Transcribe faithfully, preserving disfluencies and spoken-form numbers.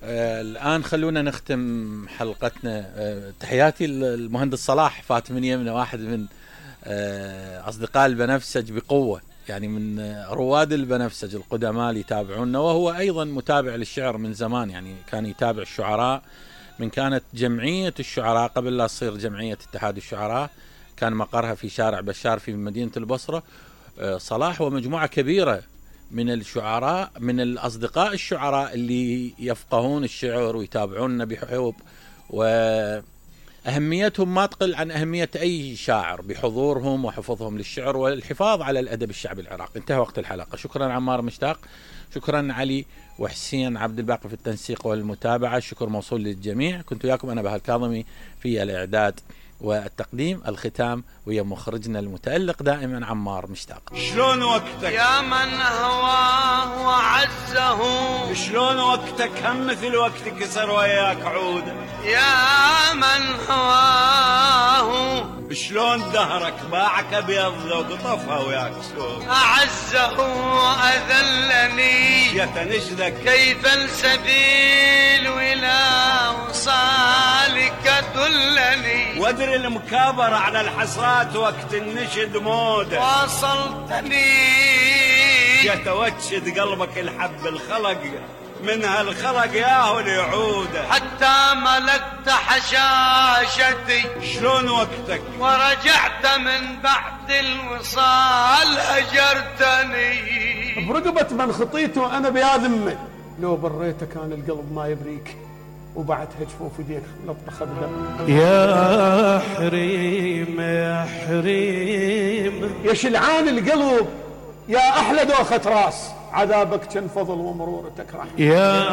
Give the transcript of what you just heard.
آه الآن خلونا نختم حلقتنا. آه تحياتي المهندس صلاح فات من يمنا، واحد من آه أصدقاء البنفسج بقوة، يعني من آه رواد البنفسج القدماء اللي يتابعونا، وهو أيضا متابع للشعر من زمان، يعني كان يتابع الشعراء من كانت جمعية الشعراء قبل لا تصير جمعية اتحاد الشعراء، كان مقرها في شارع بشار في مدينة البصرة. آه صلاح ومجموعة كبيرة من الشعراء، من الأصدقاء الشعراء اللي يفقهون الشعر ويتابعوننا بحب، وأهميتهم ما تقل عن أهمية أي شاعر بحضورهم وحفظهم للشعر والحفاظ على الأدب الشعبي العراقي. انتهى وقت الحلقة. شكرا عمار مشتاق، شكرا علي وحسين عبد الباقي في التنسيق والمتابعة، شكر موصول للجميع. كنت وياكم أنا بهاء الكاظمي في الإعداد والتقديم. الختام ويا مخرجنا المتألق دائما عمار مشتاق. شلون وقتك يا من هواه وعزه، شلون وقتك هم مثل وقت كسر وياك عوده، يا من هواه شلون دهرك باعك ابيض لو قطفها وياك سود، أعزه وأذلني يتنشدك كيف السبيل إلى وصالك دلني، وادري المكابرة على الحسرات وقت النشد موده، واصلتني يتوجد قلبك الحب الخلق من هالخلق ياهو ليعوده، حتى ملكت حشاشتي شلون وقتك ورجعت من بعد الوصال هجرتني، برقبة من خطيته أنا بيا ذمة، لو بريته كان القلب ما يبريك، وبعدها جفوف يديك لطخ بدم. يا حريم يا حريم يا شلعان القلب، يا أحلى دوخة راس، عذابك كان فضل ومرورتك رحمة. يا